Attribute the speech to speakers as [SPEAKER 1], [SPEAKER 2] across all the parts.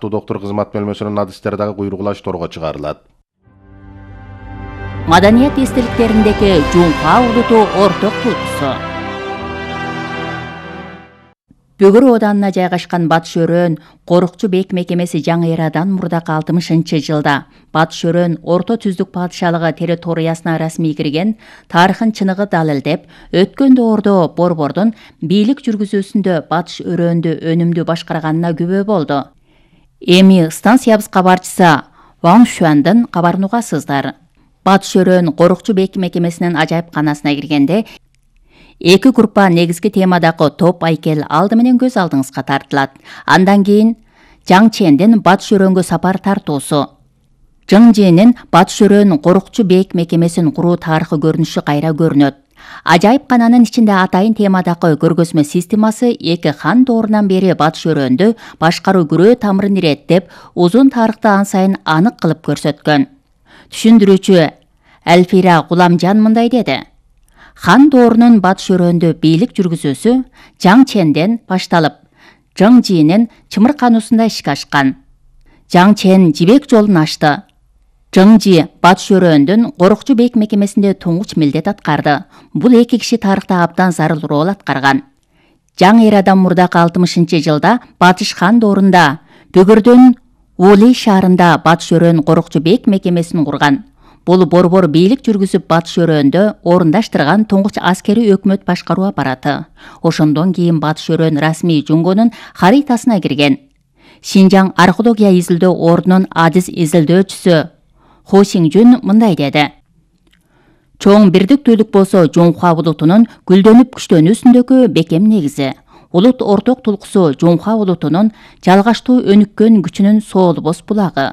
[SPEAKER 1] сыяктуу доктур кызмат бөлмөсүнүн адистери дагы куйругулашторго чыгарылат.
[SPEAKER 2] Маданият эстеликтериндеги Жуңка улуту орток тулкусу. Бөгөр оданына жайгашкан Батыш Өрөөн корукчу бек мекемеси жаңы эрадан мурдакы 60-жылда Батыш Өрөөн орто түздүк падышалыгы территориясына расмий кирген тарыхын чыныгы далилдеп, өткөн доордо Борбордун бийлик жүргүзүүсүндө Батыш Өрөөндү өнүмдүү башкарганына күбө болду. Эми станциябыз кабарчысы Ван Шуандын кабарын угасыздар. Батыш Өрөөн корукчу бек мекемесинин ажайыпканасына киргенде эки группа негизги темадагы топ айкел алды менен көз алдыңызга тартылат. Андан кийин Жаң Чендин Батыш Өрөөнгө сапар тартуусу. Жаң Чендин Батыш Өрөөн корукчу бек мекемесин куруу тарыхы көрүнүшү кайра көрүнөт. Ажайыпкананын ичинде атайын темадагы көргөзмө системасы эки хан доорунан бери Батыш Өрөөндү башкаруу күрөө тамырын иреттеп, узун тарыхты ан сайын анык кылып көрсөткөн. Түшүндүрүүчү Әлфира Гуламжан мындай деди. Хан доорунун Батыш Өрөөндө бийлик жүргүзүүсү Жаң Ченден башталып, Жаң Жинин чымыркануусунда ишке ашкан. Жаң Чен жибек жолун ачты. Жаң Жи Батыш Өрөөндүн корукчу бек мекемесинде туңгуч милдет аткарды. Бул эки киши тарыхта абдан зарыл рол аткарган. Жаңы эрадан мурдакы 60-жылда Батыш хан доорунда Бөгөрдүн Ули шаарында Батыш Өрөөн корукчу бек мекемесин курган. Бул борбор бийлик жүргүзүп Батыш Өрөөндө орундаштырган туңгуч аскери өкмөт башкаруу аппараты. Ошондон кийин Батыш Өрөөн расмий Жуңгонун харитасына кирген. Шинжаң археология изилдөө ордунун адис изилдөөчүсү Хо Сиңжүн мындай деди. Чоң бирдиктүүлүк болсо Жуңха улутунун гүлдөнүп күчтөнүүсүндөгү бекем негизи. Улут орток тулкусу Жуңха улутунун жалгаштуу өнүккөн күчүнүн соолбос булагы.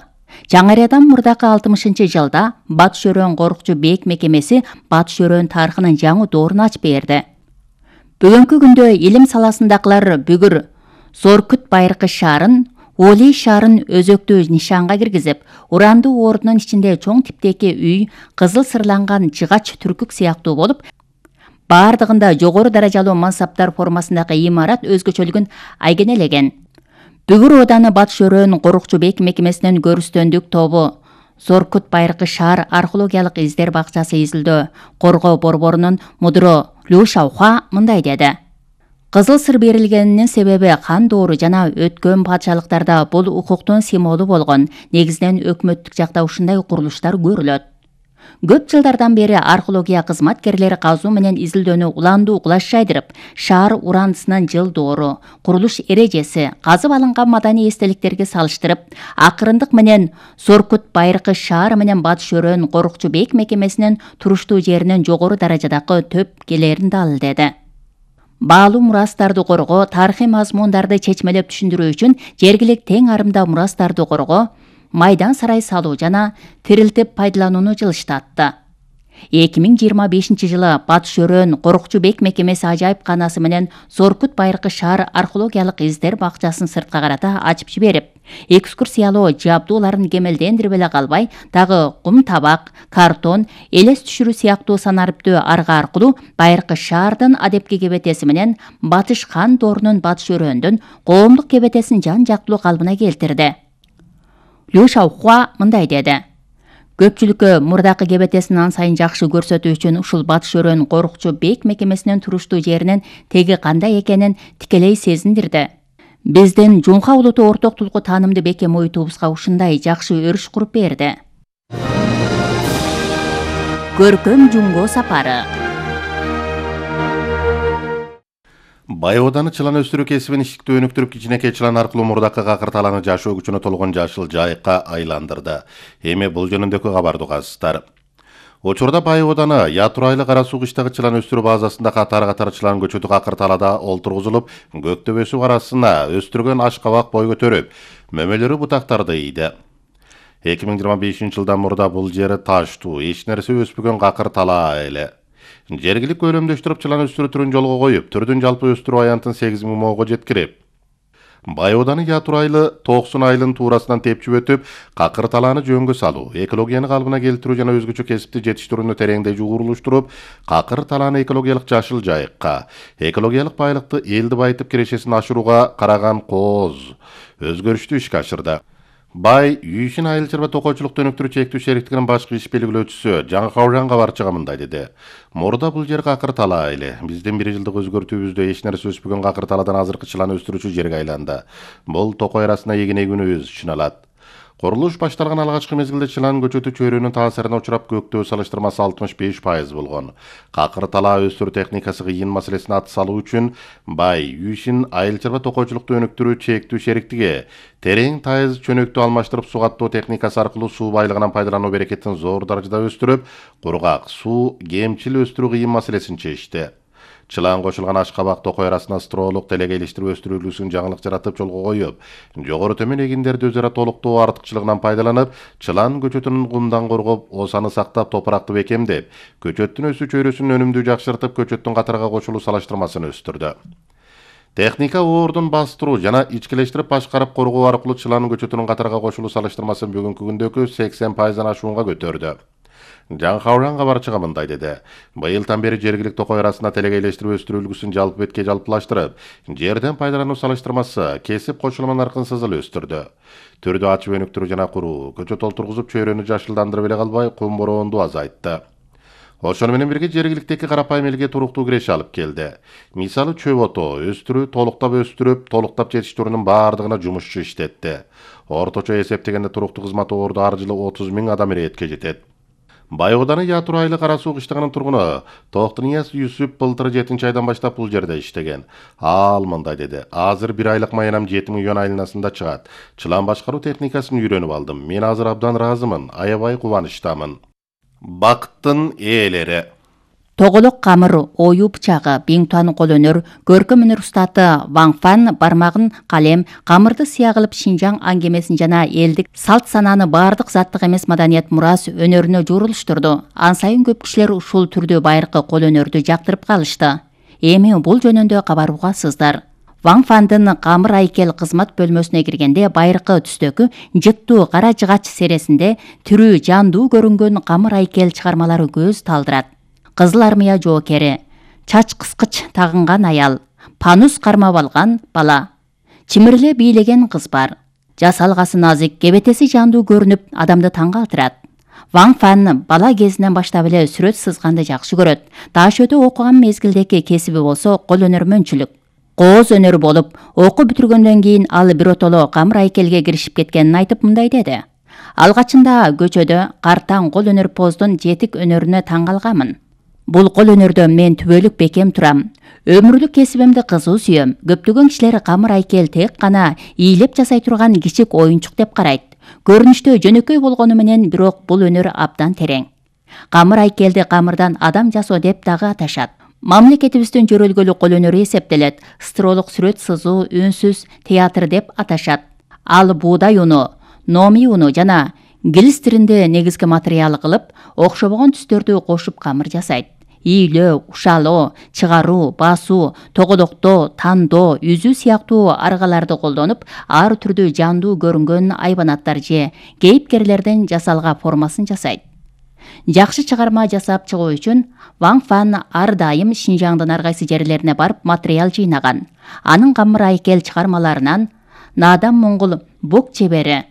[SPEAKER 2] Жаңы эрадан мурдакы 60-жылда Батыш Өрөөн корукчу бек мекемеси Батыш Өрөөн тарыхынын жаңы доорун ачып берди. Бүгүнкү күндө илим саласындагылар бүгүр Зоркут Байыркы шаарын, Оли шаарын өзөктүү нишанга киргизип, урандуу ордунун ичинде чоң типтеги үй, кызыл сырланган жыгач түркүк сыяктуу болуп, бардыгында жогору даражалуу мансаптар формасындагы имарат өзгөчөлүгүн айгенелеген. Бүгүр ооданы Батыш Өрөөн корукчу бек мекемесинин көрүстөндүк тобу Зоркут Байыркы шаар археологиялык издер бакчасы изилдөө коргоо борборунун мудро Лю Шаухуа мындай деди. Кызыл сыр берилгенинин себеби хан доору жана өткөн падышалыктарда бул укуктун символу болгон. Негизинен өкмөттүк жакта ушундай курулуштар көрүлөт. Көп жылдардан бери археология кызматкерлери казуу менен изилдөөнү уландуу кулаш жайдырып, шаар урандысынын жыл доору, курулуш эрежеси, казып алынган маданий эстеликтерге салыштырып, акырындык менен Зоркут Байыркы шаар менен Батыш Өрөөн корукчу бек мекемесинин туруштуу жеринин жогору даражадагы төп келерин далилдеди. Баалуу мурастарды коргоо, тарыхый мазмундарды чечмелеп түшүндүрүү үчүн жергилик тең арымда мурастарды коргоо, майдан сарай салуу жана тирилтип пайдаланууну жылыштатты. 2025-жылы Батыш Өрөөн корукчу бек мекемеси ажайыпканасы менен Зоркут Байыркы шаар археологиялык издер бакчасын сыртка карата ачып жиберип, экскурсиялоо жабдууларын кемелдендирип эле калбай, дагы кум табак, картон, элес түшүрүү сыяктуу санариптүү арга аркылуу Байыркы шаардын адепки кебетеси менен Батыш хан доорунун Батыш Өрөөндүн коомдук кебетесин жан жактылуу калыбына келтирди. Лю Шаухуа мындай деди. Көпчүлүккө мурдакы кебетесин ан сайын жакшы көрсөтүү үчүн ушул Батыш Өрөөн корукчу бек мекемесинин туруштуу жеринин теги кандай экенин тикелей сезиндирди. Биздин Жуңха улуту орток тулку таанымды бекем ойтубузга ушундай жакшы өрүш куруп берди. Көркөм Жуңго сапары.
[SPEAKER 1] Бай ооданы чылан өстүрүү кесибин ишиктүү өнүктүрүп, кичинекей чылан аркылуу мурдакы какырталаны жашоо күчүнө толгон жашыл жайыкка айландырды. Эми бул жөнүндөгү кабарды угасыздар. Учурда Бай ооданы Ятурайлы Кара Суу кыштагы чылан өстүрүү базасында катар чылан көчөтү какырталада олтургузулуп, көктөбө суу арасына өстүргөн ашкабак бой көтөрүп, мөмөлөрү бутактарды ийди. 2025-жылдан мурда бул жери таштуу, эч нерсе өспөгөн какыртала эле. Жергилик көлөмдөштүрүп чылан өстүрүү түрүн жолго коюп, түрдүн жалпы өстүрүү аянтын 8.000 моого жеткирип, Байоданы ятурайлы 90 айылын туурасынан тепчип өтүп, какыр талааны жөнгө салуу, экологияны калыбына келтирүү жана өзгөчө кесипти жетиштирүүнү тереңдей жугурулуштуруп, какыр талааны экологиялык жашыл жайыкка, экологиялык байлыкты элди байытып кирешесин ашырууга караган кооз өзгөрүштүү ишке ашырды. Бай Үйшин айыл чарба токойчулукту өнүктүрүү чектүү шериктигинин башкы иш белгилөөчүсү Жаңы Кауран кабарчыга мындай деди. Мурда бул жер какыр талаа эле. Биздин 1 жылдык өзгөртүүбүздө эч нерсе өспөгөн какыр талаадан азыркы чылан өстүрүүчү жерге айланды. Бул токой арасына эгин эгүүнүбүз үчүн алат. Курулуш башталган алгачкы мезгилде чылан көчөтү чөйрөнүн таасирине учурап көктөө салыштырмасы 65% болгон. Какыр талаа өстүрүү техникасы кыйын маселесине ат салуу үчүн Бай Үйшин айыл чарба токойчулукту өнүктүрүү чектүү шериктиги терең тайыз чөнөктү алмаштырып суу каттоо техникасы аркылуу суу байлыгынан пайдалануу берекетин зор даражада өстүрүп, кургак суу кемчил өстүрүү кыйын маселесин чечти. Чылан кошулган Ашкабак токой арасына строолук телегейлештирип өстүрүүлүүсүн жаңылык жаратып жолго коюп, жогору төмөн эгиндерди өзара толуктоо артыкчылыгынан пайдаланып, чылан көчөтүнүн кумдан коргоп, осаны сактап, топуракты бекемдеп, көчөттүн өсүү чөйрөсүнүн өнүмдүү жакшыртып, көчөттүн катарга кошулуу салыштырмасын өстүрдү. Техника оордун бастыруу жана ичкилештирип башкарып коргоо аркылуу чылан көчөтүнүн катарга кошулуу салыштырмасын бүгүнкү күндөгү 80%-дан ашуунга көтөрдү. Жаңы Кауран кабарчыга мындай деди. Быйылдан бери жергиликтүү токой арасына телегейлештирип өстүрүү үлгүсүн жалпы бетке жалпылаштырып, жерден пайдалануу салыштырмасы кесип кошулма наркын сызыл өстүрдү. Түрдү ачып өнүктүрүү жана куруу, көчөт олтургузуп чөйрөнү жашылдандырып эле калбай, кум бороонду азайтты. Ошону менен бирге жергиликтеги карапайым элге туруктуу киреше алып келди. Мисалы чөп отоо өстүрүү, толуктап өстүрүп, толуктап жетиштирүүнүн баардыгына жумушчу иштетти. Орточо эсептегенде туруктуу кызмат оорду ар жылы 30 000 адам иретке жетет. Байоданы Ятурайлы Кара Суу кыштагынын тургуну Токтунияз Юсуп былтыр 7-айдан баштап бул жерде иштеген. Ал мындай деди. Азыр 1 айлык маянам 7 миллион айланасында чыгат. Чылан башкаруу техникасын үйрөнүп алдым. Мен азыр абдан ыраазымын, аябай кубанычтамын. Бакыттын ээлери.
[SPEAKER 2] Тоголок камыр, оюу бычагы, биңтуан кол өнөр, көркөм өнөр устаты Ван Фан бармагын калем, камырды сыя кылып Шинжаң аңгемесин жана элдик салт санааны баардык заттык эмес маданият мурас өнөрүнө журулуштурду. Ан сайын көп кишилер ушул түрдүү байыркы кол өнөрдү жактырып калышты. Эми бул жөнүндө кабар угасыздар. Ван Фандын камыр айкел кызмат бөлмөсүнө киргенде байыркы түстөгү жыттуу кара жыгач сересинде тирүү жандуу көрүнгөн камыр айкел чыгармалары көз талдырат. Кызыл армия жоокери, чач кыскыч тагынган аял, панус кармап алган бала, чимирле бийлеген кыз бар. Жасалгасы назик, кебетеси жандуу көрүнүп, адамды таң калтырат. Ван Фан бала кезинен баштап эле сүрөт сызганды жакшы көрөт. Таашөтө окуган мезгилдеги кесиби болсо кол өнөрмөнчүлүк. Кооз өнөрү болуп, окуу бүтүргөндөн кийин ал биротоло камыр айкелге киришип кеткенин айтып мындай деди. Алгачында көчөдө картаң кол өнөр поздун жетик өнөрүнө таң калганмын. Бул кол өнөрдө мен түбөлүк бекем турам. Өмүрлүк кесибимди кызуу сүйөм. Көптөгөн кишилер камыр айкел тек гана ийилеп жасай турган кичик оюнчук деп карайт. Көрүнүштө жөнөкөй болгону менен бирок бул өнөр абдан терең. Камыр айкелди камырдан адам жасоо деп дагы аташат. Мамлекетибиздин жөрөлгөлү кол өнөрү эсептелет. Стролук сүрөт сызуу, үнсүз театр деп аташат. Ал буудай уну, номи уну жана гилис тиринде негизги материал кылып, окшобогон түстөрдү кошуп камыр жасайт. Ийилөө, ушалоо, чыгаруу, басуу, тоголоктоо, тандоо, үзүү сыяктуу аргаларды колдонуп, ар түрдүү жандуу көрүнгөн айбанаттар же кейипкерлердин жасалга формасын жасайт. Жакшы чыгарма жасап чыгуу үчүн Ван Фан ар дайым Шинжаңдын ар кайсы жерлерине барып материал жыйнаган. Анын камыр айкел чыгармаларынан Надан Моңгол бук чебери,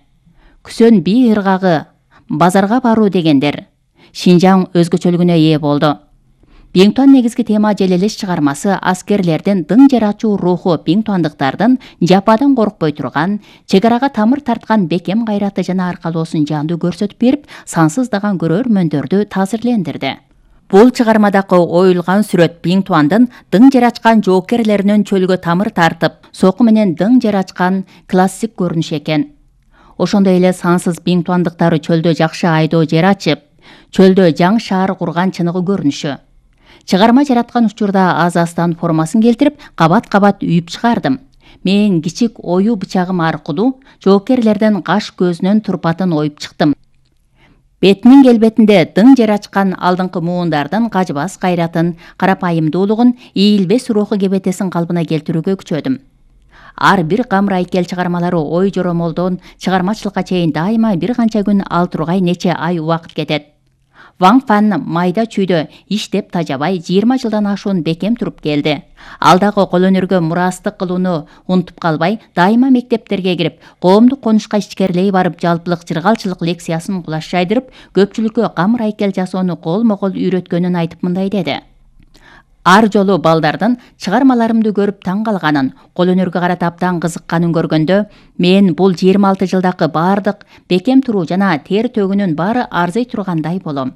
[SPEAKER 2] Күсөн бий ыргагы, базарга баруу дегендер Шинжаң өзгөчөлүгүнө ээ болду. Биңтуан негизги тема желелеш чыгармасы аскерлердин дың жер ачуу руху биңтуандыктардын жападан коркпой турган, чегарага тамыр тарткан бекем кайраты жана аркалоосун жандуу көрсөтүп берип, сансыздаган көрөрмөндөрдү таасирлендирди. Бул чыгармадагы оюлган сүрөт биңтуандын дың жер ачкан жоокерлеринин чөлгө тамыр тартып, соку менен дың жер ачкан классик көрүнүш экен. Ошондой эле сансыз биңтуандыктары чөлдө жакшы айдоо жер ачып, чөлдө жаңы шаар курган чыныгы көрүнүшү. Чыгарма жараткан учурда аз-аздан формасын келтирип, кабат-кабат үйүп чыгардым. Мен кичик оюу бычагым аркылуу жоокерлердин каш көзүнүн турпатын оюп чыктым. Бетинин келбетинде дың жер ачкан алдыңкы муундардын кажыбас кайратын, карапайымдуулугун, ийилбес руху кебетесин калбына келтирүүгө күчөдүм. Ар бир Камырайкел чыгармалары ой жоромолдон чыгармачылыкка чейин дайыма бир канча күн, ал тургай нече ай убакыт кетет. Ван Фан майда чүйдө иштеп тажабай 20 жылдан ашуун бекем туруп келди. Ал дагы кол өнөргө мурастык кылууну унутуп калбай, дайыма мектептерге кирип, коомдук конушка ичкерлей барып, жалпылык жыргалчылык лекциясын кулаш жайдырып, көпчүлүккө камыр-айкел жасоону колмо-кол үйрөткөнүн айтып мындай деди. Ар жолу балдардын чыгармаларымды көрүп таң калганын, кол өнөргө карата абдан кызыкканын көргөндө, мен бул 26 жылдагы бардык бекем туруу жана тер төгүүнүн баары арзый тургандай болом.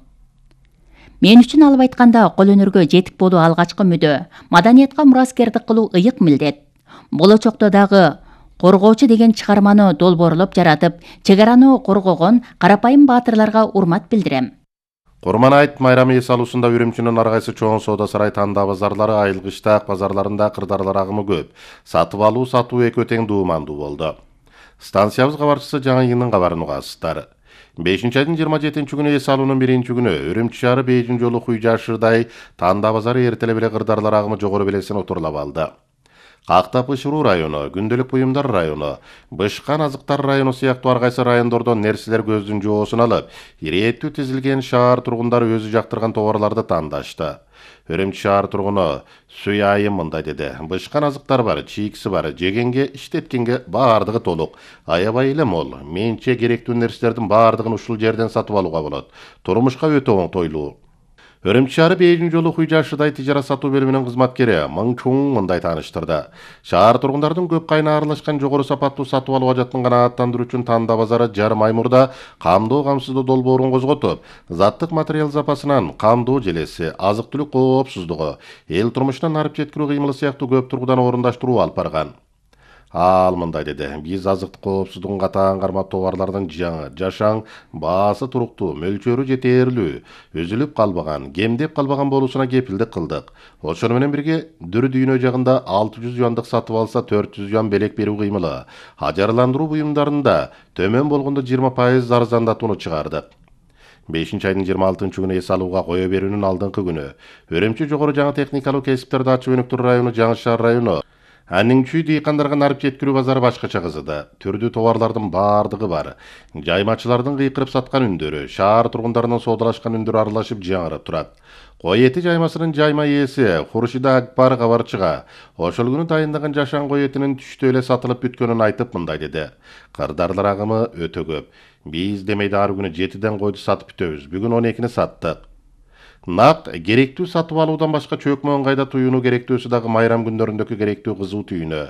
[SPEAKER 2] Мен үчүн алып айтканда кол өнөргө жетик болуу алгачкы мүдө, маданиятка мураскердик кылуу ыйык милдет. Болочокто дагы Коргоочу деген чыгарманы долбоорлоп жаратып, чек араны коргогон карапайым баатырларга урмат билдирем.
[SPEAKER 1] Курман айт майрамы эс алуусунда Үрүмчүнүн ар кайсы чоң соода сарай танда базарлары айылгы Иштаак базарларында кырдаарлар агымы көп. Сатып алуу сатуу экөө тең дуумандуу болду. Станциябыз кабарчысы Жаңы Йыңдын кабарын угасыздар. 5-айдын 27 күнү эс алуунун 1-күнү Үрүмчү шаары Бейжин жолу Хуйжашырдай танда базары эртеле беле кырдаарлар агымы жогору белесин отурлап алды. Кактап Ышыруу району, Күндөлүк буюмдар району, Бышкан азыктар району сыяктуу ар кайсы райондордон нерселер көздүн жоосун алып, ирээттүү тизилген шаар тургундары өзү жактырган товарларды тандашты. Үрүмчү шаар тургуну Сүй Айым мындай деди. Бышкан азыктар бар, чийкиси бар, жегенге, иштеткенге баардыгы толук. Аябай эле мол. Менче керектүү нерселердин баардыгын ушул жерден сатып алууга болот. Турмушка өтө оңтойлуу. Үрүмчү шаары Бейжин жолу Хуйжашырдай тижара сатуу бөлүмүнүн кызматкери Мың Чуң мындай тааныштырды. Шаар тургундардын көп кайына аралашкан жогору сапаттуу сатып алуу ажатын канааттандыруу үчүн танда базары жарым ай мурда камдоо камсыздоо долбоорун козготуп, заттык материал запасынан камдоо желеси, азык-түлүк коопсуздугу, эл турмушунан арып жеткирүү кыймылы сыяктуу көп тургудан орундаштыруу алып барган. Ал мындай деди. Биз азыктык коопсуздугун катаан кармап товарлардын жаңы, жашаң, баасы туруктуу, мөлчөрү жетээрлүү, үзүлүп калбаган, кемдеп калбаган болуусуна кепилдик кылдык. Ошону менен бирге Дүр дүйнө жагында 600 юандык сатып алса 400 юан белек берүү кыймылы. Ажарландыруу буюмдарында төмөн болгондо 20% арзандатууну чыгардык. 5-айдын 26 күнү эс алууга кое берүүнүн алдыңкы күнү Үрүмчү жогору жаңы техникалык кесиптерди ачып өнүктүрүү району Жаңы Шаар району Анын чүй дыйкандарга нарып жеткирүү базары башкача кызыды. Түрдүү товарлардын баардыгы бар. Жаймачылардын кыйкырып саткан үндөрү, шаар тургундарынын соодалашкан үндөрү аралашып жаңырып турат. Кой эти жаймасынын жайма ээси Хуршида Акбар кабарчыга ошол күнү дайындаган жашаң кой этинин түштө эле сатылып бүткөнүн айтып мындай деди. Кырдаарлар агымы өтө көп. Биз демейде ар күнү 7ден койду сатып бүтөбүз. Бүгүн 12-ни саттык. Нак керектүү сатып алуудан башка чөкмө ыңгайда туюуну керектүүсү дагы майрам күндөрүндөгү керектүү кызуу түйүнү.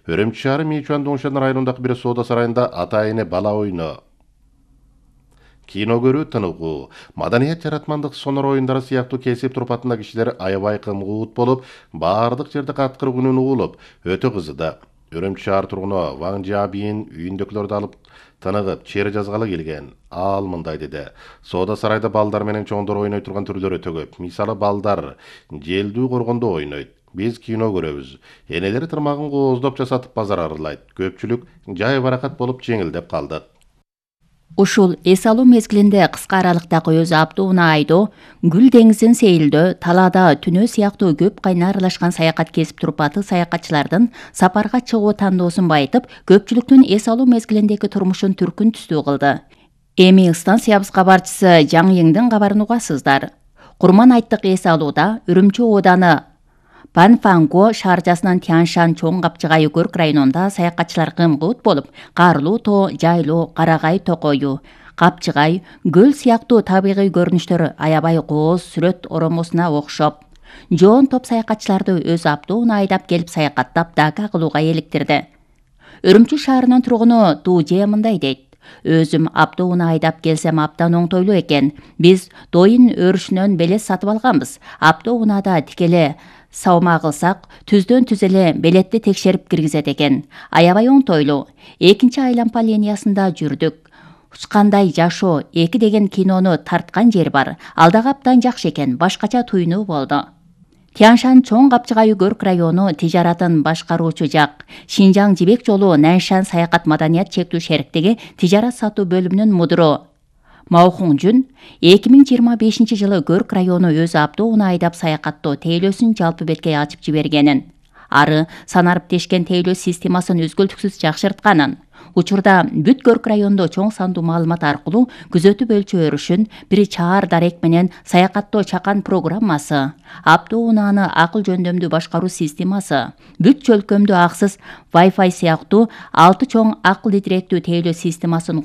[SPEAKER 1] Үрүмчү шаары Мичуан Доңшан районундагы бир соода сарайында ата-эне бала ойну, кино көрүү тыныгуу, маданият жаратмандык сонор оюндары сыяктуу кесип турпатында кишилер аябай кымгуут болуп, баардык жерде каткыр күнүн угулуп, өтө кызыды. Үрүмчү шаар тургуну Ваң Жабийин үйүндөгүлөрдү алып тыныгып, чери жазгалы келген. Ал мындай деди. Соода сарайда балдар менен чоңдор ойной турган түрлөр өтө көп. Мисалы балдар желдүү коргондо ойнойт. Биз кино көрөбүз. Энелери тырмагын кооздоп жасатып базар аралайт. Көпчүлүк жай баракат болуп жеңилдеп калдык.
[SPEAKER 2] Ушул эс алуу мезгилинде кыска аралыктагы өзү Абдууна айдоо, Гүл деңизин сейилдөө, талаада түнөө сыяктуу көп кайна аралашкан саякат кесип турпаты саякатчылардын сапарга чыгуу тандоосун байытып, көпчүлүктүн эс алуу мезгилиндеги турмушун түркүн түстүү кылды. Эми станциябыз кабарчысы Жаңы Йыңдын кабарын угасыздар. Курман айттык эс алууда Үрүмчү ооданы Панфанго шаарчасынан Тяншан чоң капчыгайы көрк районунда саякатчылар кымгуут болуп, Карлуу тоо, Жайлуу, Карагай токою, Капчыгай, көл сыяктуу табигый көрүнүштөр аябай кооз сүрөт оромосуна окшоп. Жоон топ саякатчыларды өз Абдууна айдап келип саякаттап дака кылууга эликтирди. Үрүмчү шаарынын тургуну Тuje мындай дейт. Өзүм Абдууна айдап келсем абдан оңтойлуу экен. Биз Дойын өрүшүнөн белес сатып алганбыз. Абдуунада тикеле саума кылсак, түздөн түз эле белетти текшерип киргизет экен. Аябай оңтойлуу. 2-айланпа линиясында жүрдүк. Учкандай жашоо 2 деген кинону тарткан жер бар. Ал дагы абдан жакшы экен, башкача туйнуу болду. Тяншан чоң капчыгайы көрк району тижаратын башкаруучу жак. Шинжаң жибек жолу Наншан саякат маданият чектүү шериктиги тижарат сатуу бөлүмүнүн мудуру Маухуңжун 2025 жылы көрк району өзү Абдууна айдап саякаттоо тейлөөсүн жалпы бетке ачып жибергенин. ары санариптешкен тейлөө системасын үзгүлтүксүз жакшыртканын. Учурда бүт Көрк районунда чоң сандуу маалымат аркылуу күзөтүп өлчөө өрүшүн, бир чаар дарек менен саякаттоо чакан программасы, автоунааны акыл жөндөмдүү башкаруу системасы, бүт чөлкөмдүү аксыз Wi-Fi сыяктуу 6 чоң акыл идиреттүү тейлөө системасын